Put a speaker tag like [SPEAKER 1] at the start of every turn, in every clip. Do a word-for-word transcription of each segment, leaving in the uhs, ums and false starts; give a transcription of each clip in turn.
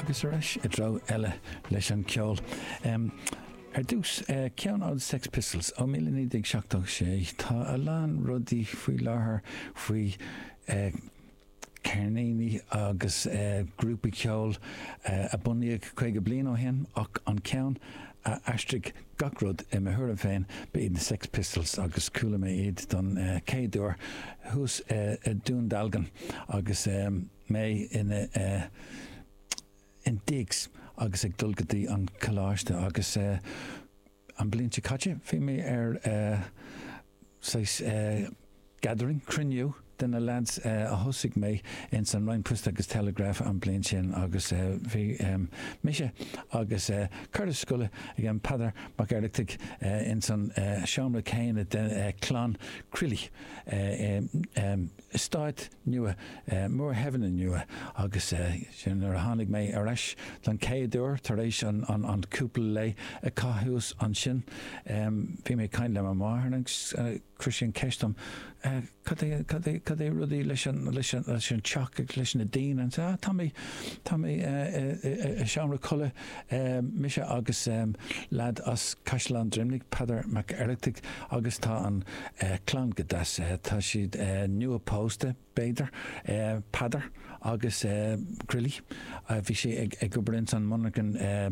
[SPEAKER 1] Agus ar ais i dtreo eile leis an ceol. Um, ar dtús uh, ceann ó Sex Pistols ó míle naoi déag seachtó sé tá a lán rudaí faoi láthair faoi uh, ceirníní agus uh, grúpaí ceoil uh, a bunaíodh caoga bliain ó shin ach an ceann a aistrigh gach rud i mo thuairim féin ba iad na Sex Pistols agus chuala mé iad don uh, chéad uair thuas uh, i Dún Dealgan agus um, mé ina uh, in digs agus ag dul go dtí an coláiste agus uh, an bliain seo caite bhí mé ar uh, saghas uh, gathering cruinniú de na lads uh, a thosaigh mé in san Roinn Poist agus Telegraph an bliain sin agus uh, bhí um, mise agus uh, cara scoile ag an Peadar Mac Oireachtaigh uh, in san uh, seomra céanna de uh, clann Crilly uh, um, um, stát nua uh, Moorhaven nua agus uh, sin nuair a tháinig mé ar ais don chéad uair tar éis an, an, an cúpla lá a chaitheamh ansin um, bhí mé caint le mo mháthair agus uh, chuir sí an ceist dom uh, cad é cad é cad é rudaí leis an leis an leis an teach agus leis na daoine an ah, tá mé tá mé i seomra codlata mise agus um, lad as Caisleán Droimnigh Peadar Mac Oireachtaigh agus tá an uh, clann go deas uh, tá siad uh, nua pósta b'fhéidir uh, Peadar agus uh, Grilly uh, bhí sé ag ag obair an monarchan uh,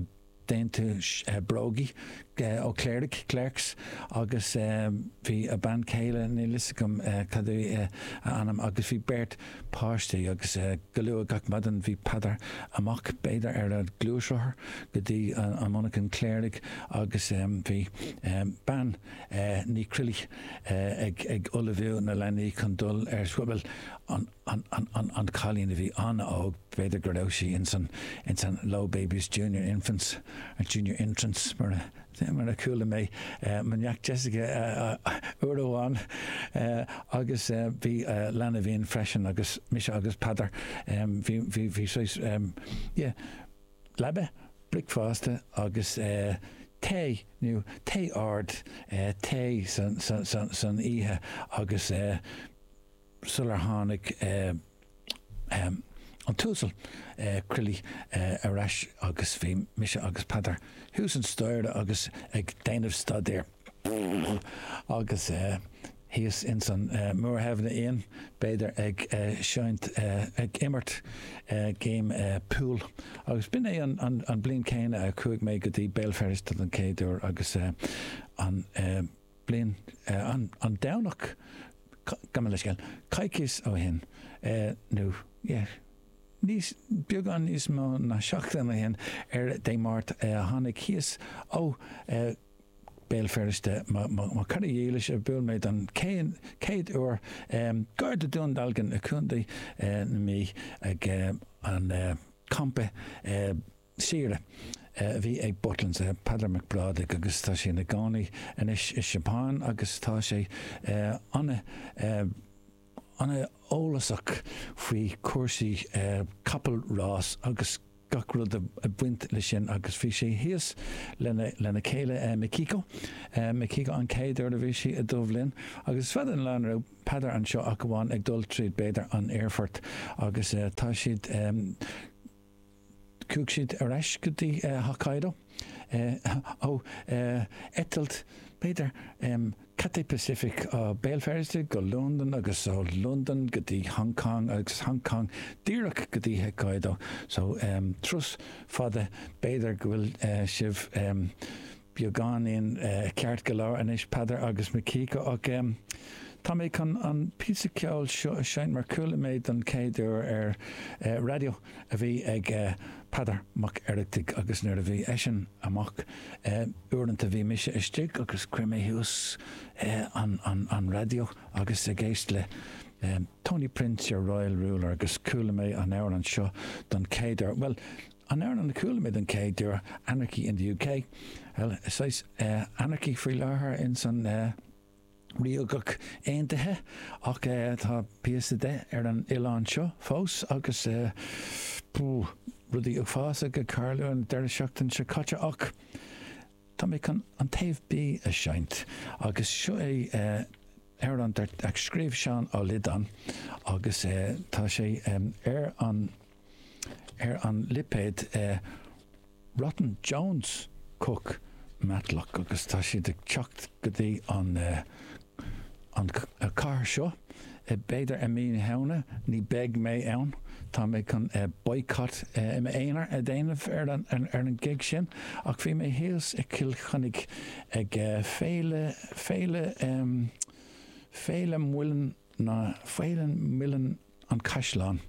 [SPEAKER 1] déanta uh, brógaí uh, ó Cléirigh Clerks agus um, bhí a bean chéile níl a fhios agam uh, cad é uh, a ainm agus bhí beirt páistí agus uh, go luath gach maidin bhí Peadar amach b'fhéidir ar a ghluaisrothar go dtí an, an monarchan Cléirigh agus um, bhí um, bean uh, Ní Crilly uh, ag, ag ullmhú na leanaí chun dul ar scoil an, an, an, an, an cailín a bhí an-óg b'fhéidir go raibh sí in san in san Low Babies Junior Infants or Junior Entrance mar a mar a chuala mé uh, mo neacht Jessica uh, uair amháin uh, agus uh, bhí uh, leanbh freisin agus mise agus Peadar um, bhí bhí bhí saghas um, yeah, leaba bricfeasta agus uh, tae nó tae ard uh, tae san, san, san, san oíche agus uh, sular tháinig uh, um, an t-uasal uh, Crilly uh, ar ais agus bhí mise agus Peadar thuas an staighre agus ag déanamh staidéir agus uh, thíos in san uh, Moorhaven Inn b'fhéidir ag uh, seinnt uh, ag imirt uh, game uh, pool agus b'in é an, an, an bliain céanna a chuaigh mé go dtí Béal Feirste don chéad uair agus uh, an uh, bliain uh, an, an Domhnach gabh mo leithscéal coicís ó shin uh, nó yeah, níos beagán níos mó ná seachtain ó shin ar Dé Máirt uh, tháinig thíos ó uh, Béal Feirste mo chara dílis a bhuail mé don chéad uair um, gar do Dún Dealgan i gContae uh, na Mí ag uh, an uh, campa uh, saoire. Uh, bhí ag Butlins uh, Peadar Mac Brádaigh agus tá sé ina chónaí anois i Japan agus tá sé uh, an uh, an-eolasach faoi cúrsaí uh, capall rás agus gach rud a bhaint le sin agus bhí sé thíos lena lena chéile uh, Mikiko uh, Mikiko an chéad uair a bhí sí i Dubh Linn agus fada an lá raibh Peadar anseo ach amháin ag dul tríd b'fhéidir an aerfort agus uh, tá siad um, chuaigh siad ar ais go dtí uh, Hokkaido uh, ó uh, eitilt b'fhéidir um, Cathay Pacific ó Béal Feirste go London agus ó London go dtí Hong Kong agus Hong Kong díreach go dtí Hokkaido so um, turas fada b'fhéidir go bhfuil uh, sibh um, beagáinín uh, ceart go leor anois Peadar agus Mikiko ach um, Tá mé chun an píosa ceoil seo a sheinnt mar chuala mé don chéad uair ar uh, raidió a bhí ag uh, Peadar Mac Oireachtaigh agus nuair a bhí eisean amach uh, uaireanta bhí mise istigh agus chuir mé thuas uh, an, an, an raidió agus ag éist le um, Tony Prince your Royal Ruler agus chuala mé an amhrán seo don chéad uair. Well, an amhrán a chuala mé don chéad uair Anarchy in the UK. Well, is uh, anarchy faoi láthair in san uh, Ríocht Aontaithe ach uh, tá píosa de ar an oileán seo fós agus uh, rudaí uafásacha ag tarlú an deireadh seachtain seo caite ach tá mé chun an taobh B a sheinnt agus seo é uh, amhrán a scríobh Seán Ó Loideáin agus uh, tá sé um, ar an ar an lipéad Rotten Jones Cooke Matlock agus tá siad ag teacht go dtí an an cathair seo b'fhéidir i mí na Samhna ní beidh mé ann tá mé chun boycott i m'aonar a dhéanamh ar an ar an gig sin ach bhí mé thíos i Cill Chainnigh ag féile féile féile Muileann na féile Muileann an Caisleán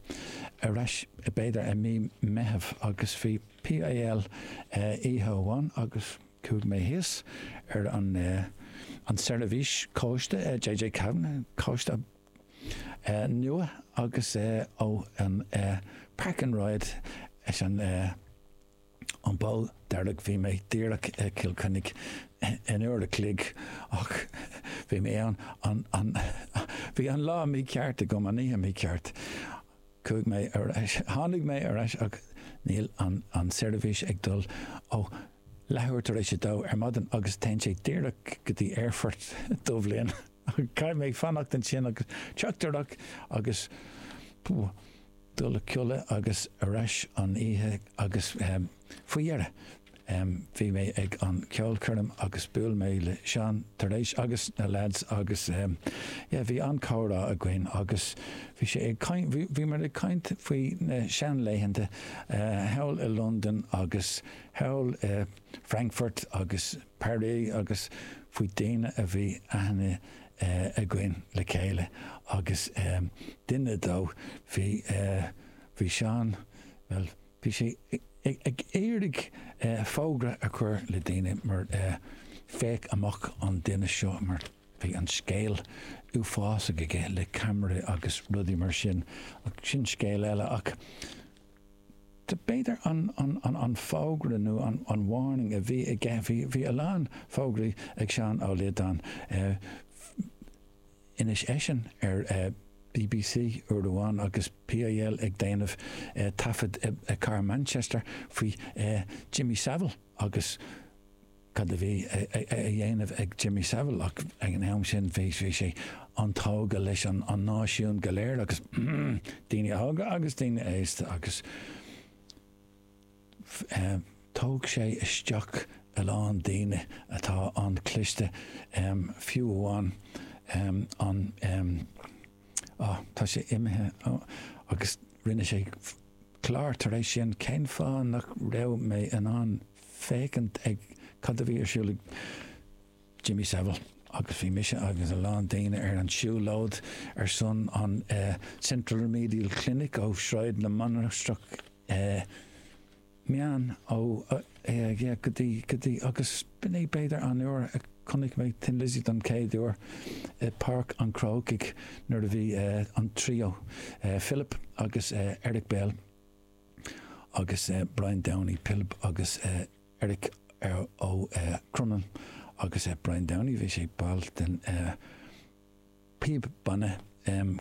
[SPEAKER 1] ar ais b'fhéidir i mí Meitheamh agus bhí PIL oíche amháin agus chuaigh mé thíos ar an an seirbhís cóiste JJ Kavanagh cóiste nua agus ó an Park and Ride is an an bó dearg bhí mé díreach i Cill Chainnigh in uair a chloig ach bhí mé an an an bhí an lá mícheart agam an oíche mícheart. Chuaigh mé ar ais tháinig mé ar ais ach níl an an seirbhís ag dul ó leathuair tar éis a dó ar maidin agus téann sé díreach go dtí aerfort Duibhlinn. Caithfidh mé fanacht ansin agus teachtaireacht agus dul a chodladh agus ar ais an oíche agus faoi dheireadh bhí mé ag an ceolchoirm agus buail mé le Seán tar éis agus na lads agus yeah bhí an-chomhrá againn agus bhí sé ag caint bhí muid ag caint faoi na seanlaethanta thall i Londain agus thall i Frankfurt agus Paris agus faoi daoine a bhí aithne againn le chéile agus duine dó bhí bhí Seán well bhí sé ag iarraidh fógra a chur le daoine mar féach amach an duine seo mar bhí an scéal uafásach aige le ceamara agus rudaí mar sin ach sin scéal eile ach b'fhéidir an an an an fógra nó an an warning a bhí aige bhí bhí a lán fógraí ag Seán Ó Liodáin inis eisean ar BBC uair amháin agus PIL ag déanamh taifead i cathair Manchester faoi Jimmy Savile agus cad a bhí a dhéanamh ag Jimmy Savile ach ag an am sin bhí bhí sé an-tógtha leis an an náisiún go léir agus daoine óga agus daoine aosta agus tóg sé isteach a lán daoine atá an-chliste fiú amháin an ah tá sé imithe agus rinne sé clár tar éis sin cén fáth nach raibh mé in ann féachaint ag cad a bhí ar siúl ag Jimmy Savile agus bhí mise agus a lán daoine ar an siúlóid ar son an uh, Central Remedial Clinic ó Sráid na Mainistreach uh, meán ó uh, yeah, go dtí go dtí agus b'in é b'fhéidir an uair a chonaic mé Thin Lizzy don chéad uair i Páirc an Chrócaigh nuair a bhí uh, an trio uh, Philip agus uh, Eric Bell agus uh, Brian Downey Pilb agus uh, Eric uh, ó uh, Crumlin agus uh, Brian Downey bhí sé ball den uh, píb banna um,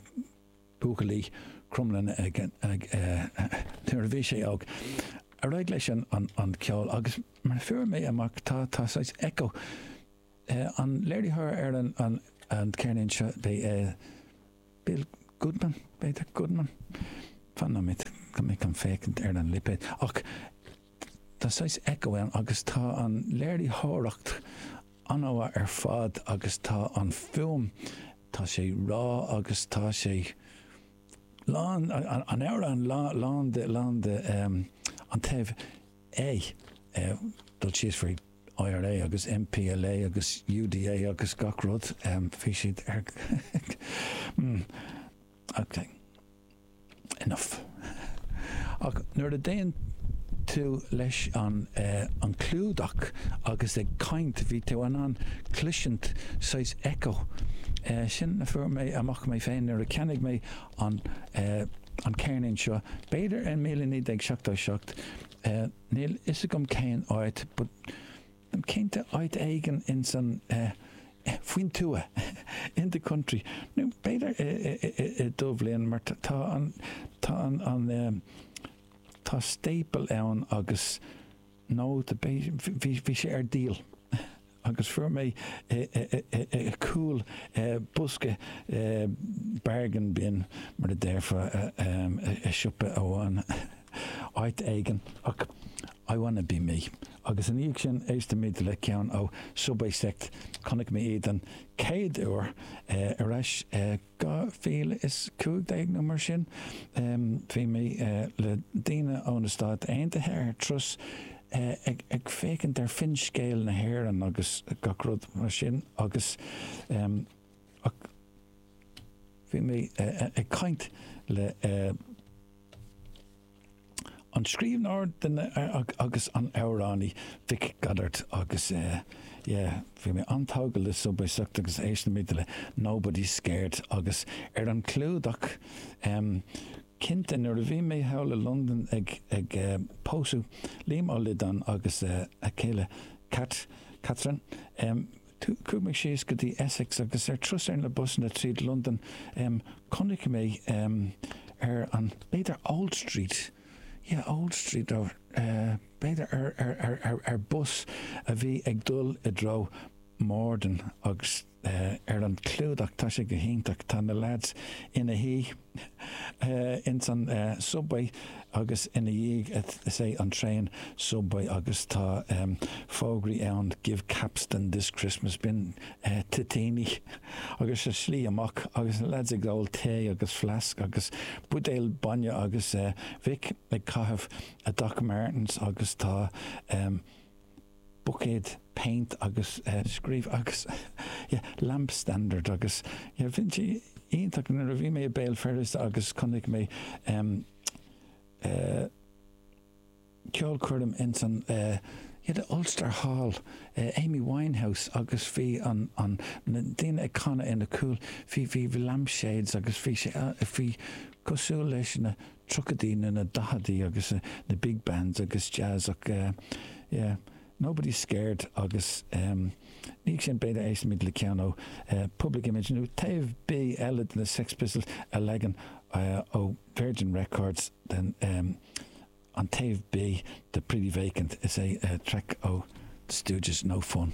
[SPEAKER 1] buachaillí Crumlin ag, ag, uh, nuair a bhí sé óg. Ar aghaidh leis an, an, an ceol agus mar fuair mé amach tá tá saghas echo uh, an léiritheoir ar an, an, an ceirnín seo bé uh, Bill Goodman b'fhéidir Goodman fan nóiméad go mé an féachaint ar an lipéad ach tá saghas echo ann agus tá an léiritheoireacht an-mhaith ar fad agus tá an fuaim tá sé rá agus tá sé lán an, an amhrán lán lán de lán de um, an taobh A uh, dul síos faoi IRA agus MPLA agus UDA agus gach rud um, bhí siad ar mm, okay. enough. Ach nuair a déan tú leis an uh, an clúdach agus ag caint bhí tú an an cloisint saghas echo. Uh, sin a fuair mé amach mé féin nuair a cheannaigh mé an uh, an ceirnín seo. B'fhéidir in míle naoi déag seachtó seacht uh, níl fhios agam cén áit, but cinnte áit éigin in san uh, faoin tuath in the country. Nó b'fhéidir i Duibhlinn mar tá an tá an an um, tá staple ann agus nó bhí bhí sé ar díol. agus fuair mé cúl bosca bargain bin mar a déarfá i siopa amháin áit éigin ach I Wanna Be Me. Agus ina dhiaidh sin éistfimid le ceann ó Subway Sect chonaic mé iad an chéad uair ar ais dhá mhíle is cúig déag nó mar sin. Bhí mé le daoine ó na Stáit Aontaithe ar turas ag ag féachaint ar finscéal na hÉireann agus gach rud mar sin agus ach bhí mé ag caint le an scríbhneoir agus an amhránaí Vic Goddard agus yeah bhí mé an-tógtha le Subway Sect agus éistfimid le Nobody's Scared agus ar an clúdach cinnte nuair a bhí mé thall i Londain ag ag pósadh Liam Ó Loideáin agus a chéile Cat Catherine chuaigh mé síos go dtí Essex agus ar turas ar na busanna tríd Londain chonaic mé ar an b'fhéidir Old Street yeah Old Street or b'fhéidir ar ar ar ar ar bus a bhí ag dul i dtreo Morden agus ar an clúdach tá sé go hiontach tá na lads ina shuí ins an subway agus ina dhiaidh is é an traein subway agus tá fógraí ann give Capstan this Christmas b'in toitíní agus sa slí amach agus na lads ag ól tae agus flask agus buidéal bainne agus Vic ag caitheamh a Doc Martens agus tá buicéad paint agus scríobh agus yeah lamp standard agus yeah bhí sé iontach nuair a bhí mé i Béal Feirste agus chonaic mé um, uh, ceolchoirm ins an uh, yeah, the Ulster Hall uh, Amy Winehouse agus bhí an, an na daoine ag canadh ina cúl bhí bhí bhí lampshades agus bhí sé uh, bhí cosúil leis na tríochaidí na na daicheadaí agus uh, na big bands agus jazz ach uh, yeah, Nobody's Scared agus um, ní sin b'fhéidir éistfimid le ceann ó uh, Public Image nó taobh B eile de na Sex Pistols a leagan uh, ó Virgin Records den um, an taobh B de Pretty Vacant is é uh, track ó The Stooges No Fun.